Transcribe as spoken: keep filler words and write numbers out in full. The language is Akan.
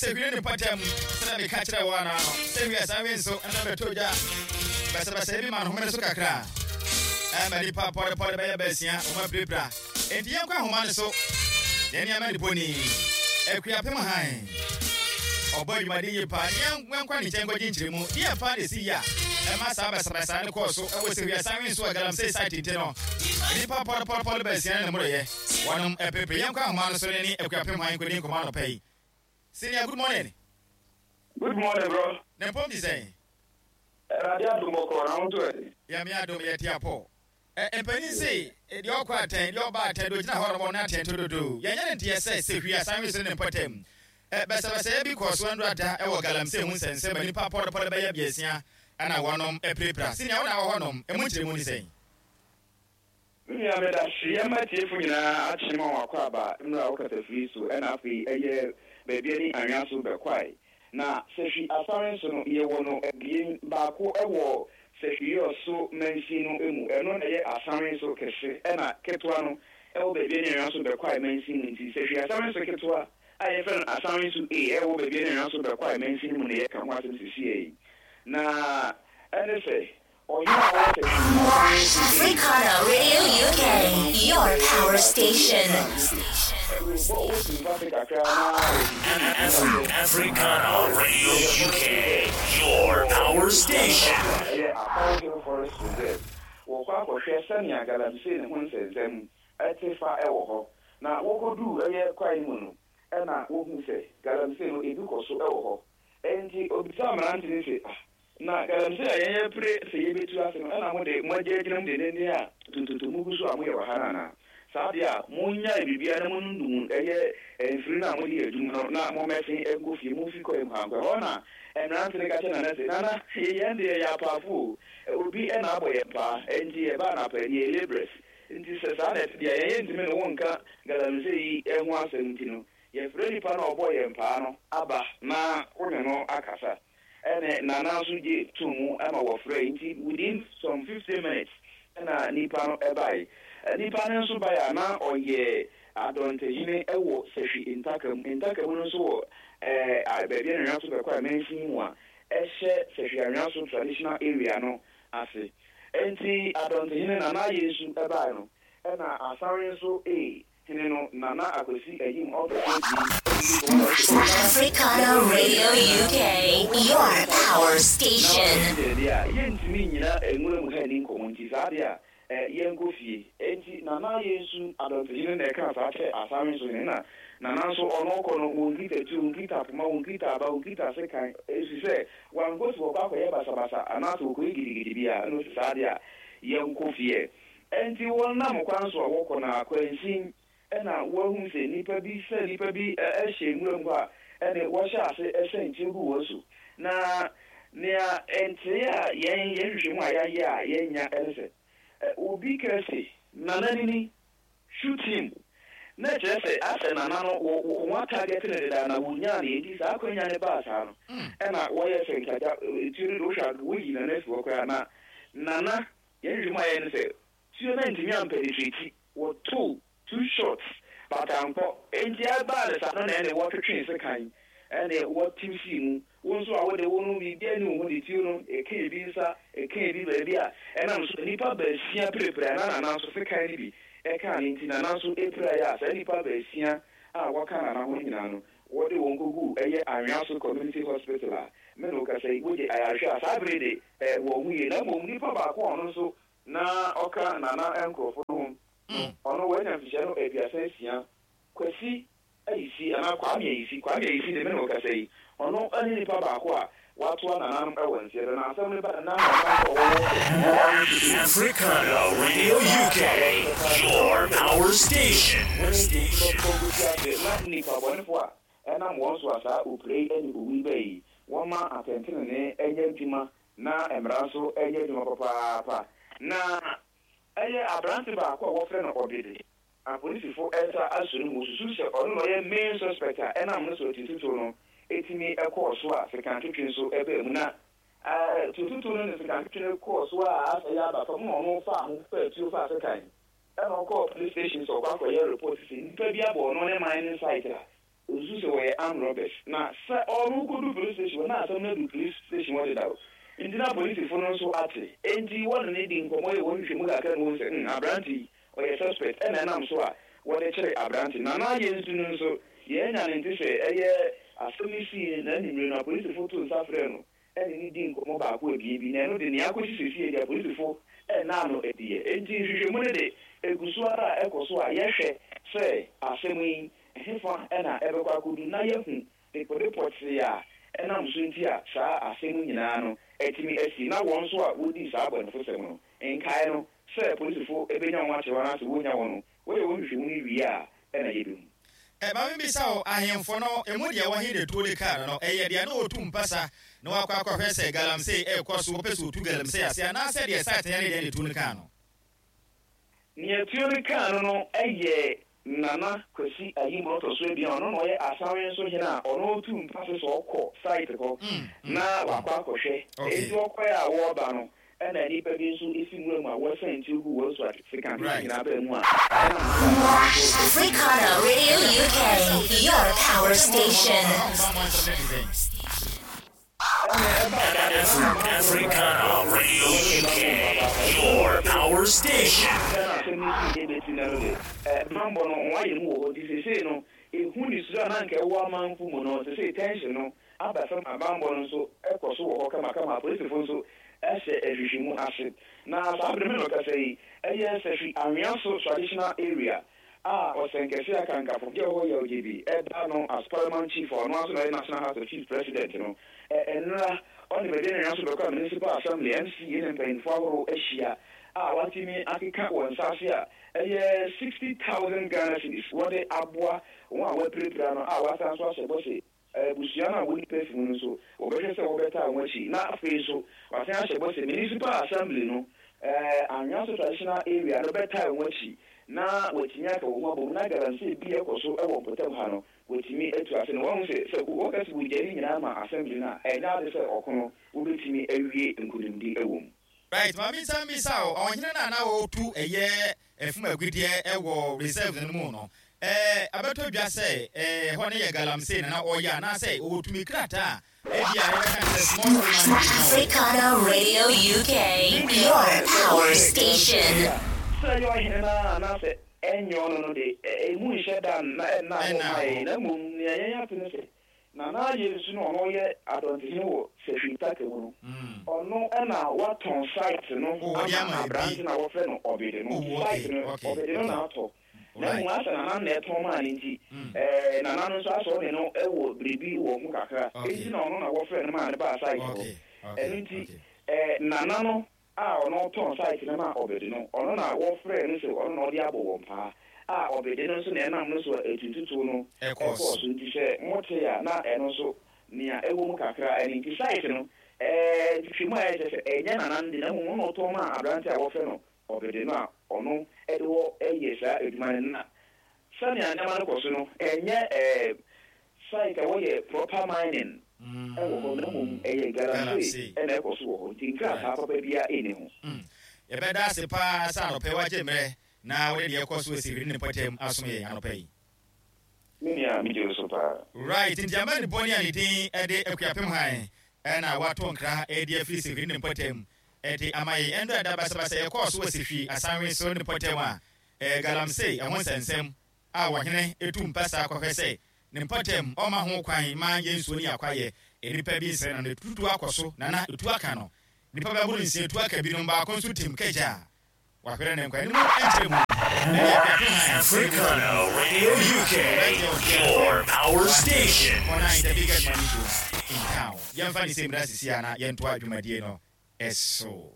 Sehwi ne mpɔtam, sɛdeɛ meka kyerɛɛ wo anaa no, Sehwi asan wi nso ɛna bɛtɔ gya basabasayɛ bi ma no homene so kakra ɛma nipa pɔrepɔre bɛyɛ baasia wɔn apirapira. Enti yɛnkɔ ahoma no so na nneɛma ne poni Akuapem han ɔbɔ adwumaden yie paa. Yɛnkɔ ne nkyɛn nkɔgye nkyerɛmu deɛ paa na ɛsi yie a ɛma saa basabasa no kɔɔ so ɛwɔ Sehwi asan wi nso a galamsey site nti no nipa pɔrepɔrepɔre baasia ne mmoroyɛ wɔnom apirapira. Yɛnkɔ ahoma no so ne ne Akuapem han nkɔdi nkɔmmɔ anɔpa yi. Senior, good morning. Good morning, bro. Ne mpɔm ti sɛn? Awurade adom, bɔkɔɔ na wo nso ɛ? Yɛme adom, yɛte apɔ. Mpanin se deɛ ɔkɔ atɛn, deɛ ɔba atɛn, deɛ ɔgyina hɔ nom ɔno atɛn tododo. Yɛnyɛ ne nteɛ sɛ Sehwi asan wi so ne mpɔtam basabasayɛ bi kɔɔ so ɛnora ɛwɔ galamsey ho nsɛnsɛm ma nipa pɔrepɔre bɛyɛ biasia ɛna wɔnom apirapira. Senior, wo na wɔ hɔ nom, ɛmu nkyerɛmu ne sɛn? Nua, meda hyeɛ ma tiefo nyinaa akye ma wɔn akɔ aba mmerɛ a wokasa firi so. Ɛna afei ɛyɛ baabi ani anwea so bɛkwae na Sehwi Asare nso no, yɛwɔ no abien. Baako ɛwɔ Sehwi Yɔso mansin no mu, ɛno na ɛyɛ Asare nso kɛse, ɛna ketewa no ɛwɔ baabi ani anwea so bɛkwae mansin mu. Nti Sehwi Asare nso ketewa a yɛfrɛ no Asare nso A ɛwɔ baabi ani anwea so bɛkwae mansin mu na yɛka ho asɛm sesie yi. Na ɛne sɛ Africana Radio U K, your power station. Africana Radio U K, your power station. Ɛyɛ Apaw Hill Forest Reserve, wɔkɔ akɔhwɛ sɛnea galamsey ne ho nsɛnsɛm ɛte fa ɛwɔ hɔ. Na wɔkɔduu ɛyɛ kwae mu no, ɛna wohu sɛ galamsey no ebi kɔ so ɛwɔ hɔ. Ɛnti obisa mmerante no sɛ, "Ah, na galamsey a yɛn pere sɛ yɛbɛtu ase no, ɛna mo de mo agye agyina mu dendenden a tututu mu gu so a moyɛ wɔ ha no anaa? Saa deɛ a monyae biribiara na monundum ɛyɛ mfiri no a mode yɛ adwuma no na mommɛsen nkɔ fie, momfi kɔe mu ha nkɔ ɛhɔ." Na mmerante no ka kyerɛ Nana sɛ, "Nana, yɛn deɛ yɛ apaafo o, obi ɛna abɔ yɛn paa, ɛnti yɛbaa no apani, yɛ labourers. Nti sɛ saa na ɛte deɛ, yɛn yɛntumi ne wo nka galamsey yi ho asɛm. Nti no yɛfrɛ nipa no a ɔbɔ yɛn paa no aba na wo ne no akasa." Ɛne Nana nso gye to mu ma wɔfrɛ. Nti within some fifteen minutes ɛna nipa no ɛbae. Nipa no nso bae a na ɔyɛ adɔntehene ɛwɔ Sɛhwi ntaka mu. Ntaka mu no nso wɔ ɛɛ baabi a Anwea so bɛkɔ a mansin mu a ɛhyɛ Sɛhwi Anwea so traditional area no ase. Nti adɔntehene Nana Yesu ɛbae no, ɛna Asare nso ee hene no, Nana Akwasi Ayim ɔtɔ so. Africana Radio U K, your power station. Deɛ a yɛntumi nyina nwura mu ha ni nkɔmmɔ, nti saa deɛ a yɛnkɔ fie. Enti Nana Yesu adɔntehene na ɛka saa kyɛ Asare nso hene. Na Nana nso ɔno kɔ no, wɔnkita tuo, wɔnkita poma, wɔnkita aba, wɔnkita sekan, ɛfiri sɛ wankɔ si wɔkɔ akɔyɛ basabasa anaasɛ wɔkɔyɛ gidigidi bi a. Ɛno sɛ saa deɛ a yɛnkɔ fie. Enti wɔnam kwan so a wɔkɔ no akwansin, ɛna wɔahu sɛ nipa bi sɛ nipa bi ɛhyɛ nwura mu hɔ a ɛne wɔhyɛ ase ɛsɛn nkyɛn gu wɔn so. Na nea ntere a yɛn yɛn hwehwɛ mu a yɛayɛ a yɛnya ɛne sɛ obi ka se, "Nana nini, shoot him," na kyerɛ sɛ asɛ Nana no wɔ wɔn atarget ne deda na wɔnyaa ne. Nti saa akonnwa ne baa saa no, ɛna wɔyɛ sɛ nkagya tuo no de wohwɛ a woyi Nana afi hɔ koraa. Na Nana yɛn hwehwɛ mu a yɛn ne sɛ tuo no ntumi ampenetrate. Wɔto two shots but ankɔ. Nti ɛbaa ne saa no na ɛne wɔtwetwe sekan ɛne wɔtew sii mu. Wo nso a wode wo no biribi ani wo ho de tuo no ɛka ebi nsa, ɛka ebi baabi a ɛnam so nipa baasia pirepire. Na Nana nso sekan no bi ɛka ne, nti Nana nso epira yɛ a saa nipa baasia a wɔka Nana ho nyinaa no, wɔde wɔn kogu ɛyɛ Anwea so Community Hospital a me na okasa yi wogye ayarehwɛ a saa bere de ɛ wɔn ho yie. Na mmom nipa baako a ɔno nso na ɔka Nana nkurɔfo no ho no, ɔno wɔanya mfihyia no aduasa asia, Kwasi Ayisi anaa Kwame Ayisi. Kwame Ayisi de, me na ɔkasa yi, ɔno ne nipa baako a watoa nananom wɔ nseɛ do. Na asɛm no ba na ɔman wɔwɔ. Africana Radio U K, your power station. Na nipa bɔnefo a ɛnam wɔn so a saa opire yi ne owu yi bɛyi, wɔma atɛntenene nyɛ adwuma na mmara nso nyɛ adwuma papaapa. Na ɛyɛ aberante baako a wɔfrɛ no Ɔbede, apolisifo ɛsa aso no mu susu sɛ ɔno na ɔyɛ main suspect a ɛnam no so tututu no ɛtumi ɛkɔɔ so a sekantwetwe nso ɛbaa mu. Na tututu no ne sekantwetwe no kɔɔ so a asɛ yɛ aba fam na ɔno fa ho fa tuo fa sekan, ɛna ɔkɔɔ police station sɛ ɔkɔ akɔyɛ report sɛ nipa bi abɔ ɔno ne mining site a Osu sɛ wɔyɛ armed robbers na sɛ ɔno kɔdu police station na asɛm no adu police station hɔ deda o, nti na polisifo no nso ate, enti wɔne ne di nkɔmmɔ yɛ wɔn hwehwɛ mu kakra na wɔn sɛ mm aberante yi ɔyɛ suspect, ɛna ɛnam so a wɔde kyerɛ aberante. Nana ayɛ nsu no nso yɛn nya ne nte sɛ ɛyɛ asɛm no sii na anwummere no apolisifo to nsa frɛ no ɛne ne di nkɔmmɔ baako abien bi, na ɛno de nea akɔsi siesie deɛ apolisifo ɛna no adiɛ. Enti nhwehwɛmu no de egu so ara a ɛkɔ so a yɛhwɛ sɛ asɛm yi hefa ɛna ɛbɛkɔ akɔdu na yɛhu dekode pɔtee a ɛnam so nti a saa asɛm nyinaa no ɛtumi asi, na wɔn nso a wodi saa abɔnefosɛm no nkae no sɛ polisifo ebenya wɔn akyerɛ wɔn anaasɛ wonya wɔn no, wɔyɛ wɔn nhwehwɛmu no wie a ɛna yɛbɛhu. Ɛ maame, bisa wo, ahemfo no emu deɛ wɔhe de tuo de kaa no, ɛyɛ deɛ na ɔtu mpasa na wakɔ akɔhwɛ sɛ galamsey ɛrekɔ so, wɔpɛ sɛ ɔtu galamsey ase, anaasɛ deɛ site ne deɛ ne tuo no kaa no? Nea tuo no kaa no no ɛyɛ Nana Kwasi Ayimborɔ ɔtɔ so abien, ɔno na ɔyɛ Asawe nso hene a ɔno tu mpase sɛ ɔkɔ site hɔ na wakɔ akɔhwɛ. Enti ɔkɔɛ a wɔreba no, ɛna nnipa bi nso esi nwura mu a wɔsɛn tuo gu wɔn so asekan nyinaa bɛɛ mu a ɛna Africana Radio U K, your power station. Africana Radio U K, your power station. Ɛna asɛm no si ebesi na no de bambɔ no wɔn ayɛ mu wɔ hɔ, nti sesei no ehu ne suro a na nka ɛwɔ amanfo mu no, sesei tension no aba fam a bambɔ no nso ɛkɔ so wɔ hɔ kamakama. Apolisifo nso ɛhyɛ ahwehwɛmu ase, na saa abiri mi no kasa yi ɛyɛ Sɛhwi Anwea so Traditional Area a ɔsɛnkɛse akankafo gye hɔ yɛ ɔgye bi ɛda no as paramount chief, ɔno aso na ɔyɛ National House of Chiefs president no. Ɛnura ɔne baabi na so bɛkɔ a Municipal Assembly, M C A, ne mpanyinfoɔ ahorow ahyia a watumi akeka wɔn nsa ase a ɛyɛ sixty thousand Ghana cedis wɔde aboa wɔn a wɔapirapira no, a wasan so ahyɛ bɔ sɛ abusua no a wɔn nipa fi mu no nso wɔbɛhwɛ sɛ wɔbɛta wɔn akyi, na afei nso wasan ahyɛ bɔ sɛ Municipal Assembly no, ɛɛ Anwea so Traditional Area no bɛta wɔn akyi na wɔatumi aka wɔn ho abom na galamsey bi ɛkɔ so ɛwɔ mpɔtam ha no wɔtumi atu ase. Na wɔn sɛ sɛ wɔka sɛ wɔgya ne nyinaa ma assembly no a, ɛnyɛ ade sɛ ɔko no wobɛtumi awie nkonimdi ɛwɔ mu. Right, maame, nsa mbisa o, ɔhene no a na wɔtu ɛyɛ ɛfum agudeɛ ɛwɔ reserve no mu no, ɛɛ abɛtɔ dwa sɛ ɛɛ hɔ no yɛ galamsey na na ɔyɛ, anaasɛ ɔwɔ tumi krataa a ebi a yɛbɛka sɛ small scale mining? Africana Radio U K, your power station. Sɛ ɛyɛ ɔhene no a anaasɛ ɛnyɛ ɔno no de, emu nhyɛ da na ɛnna hɔ ma yɛn, na mmom nea yɛn ate ne sɛ Nana ayɛ nsu no, ɔno yɛ adɔntehene wɔ Sɛhwi Ntaka mu no, ɔno ɛna watɔn site no ama aberante na wɔfrɛ no Ɔbede no. Site no Ɔbede no na atɔ, na mmom asɛ nana na ɛtɔn maa ne nti ɛɛ nana no nso asɔ ne no ɛwɔ biribi wɔ ho kakra, enti na ɔno na wɔfrɛ no maa ne baa site hɔ. Ɛno nti ɛɛ nana no a ɔno tɔn site no ma Ɔbede no, ɔno na wɔfrɛ no sɛ ɔno na ɔde abɔ wɔn paa a Ɔbede no nso na ɛnam no so a etututu no ɛkɔɔ so. Nti sɛ mote a, na ɛno nso nea ɛwɔ mu kakra ɛne nti site no ɛɛ twitwi mu a ɛkyɛ sɛ ɛnyɛ nana no de, na mmom ɔno ɔtɔn ma aberante a wɔfrɛ no Ɔbede no a ɔno ɛde wɔ ɛyɛ saa adwuma no. Na sɛnea nneɛma no kɔ so no, ɛnyɛ ɛɛ site a wɔyɛ proper mining ɛwɔ hɔ, na mmom ɛyɛ galamsey ɛna ɛkɔ so wɔ hɔ, nti nkrataa papa biara ɛnni ho. Yɛbɛda ase paa sɛ anɔpɛ wagye mmerɛ na wode deɛ ɛkɔ so asiri ne mpɔtam asom yɛn anɔpɛ yi. Me nua, megye wo so paa. Right, nti ama ne bɔne a ne din ɛde Akuapem Han ɛna wato nkra ɛde afiri Sehwi ne mpɔtam ɛde ama yɛn. Ɛndo ɛda basabasa yɛkɔɔ so wɔ Sehwi Asanwe so ne mpɔtam a ɛɛ galamsey ɛho nsɛnsɛm a wɔhene etu mpasa kɔhwɛ sɛ ne mpɔtam ɔma ho kwan ma yɛn nsuo ne akwayɛ nnipa bi nsɛn no, ne tutu akɔ so nana etu aka no nipa bɛboro nsia, etu aka binom, baako nso tim kagya a wahwere ne nkwa anim ɛnkyerɛ mu. Africana Radio U K, your power station. Ɔna is the biggest money show in town. Yɛmfa ne sɛ mmira sisi a na yɛntoa dwumadie no ɛso.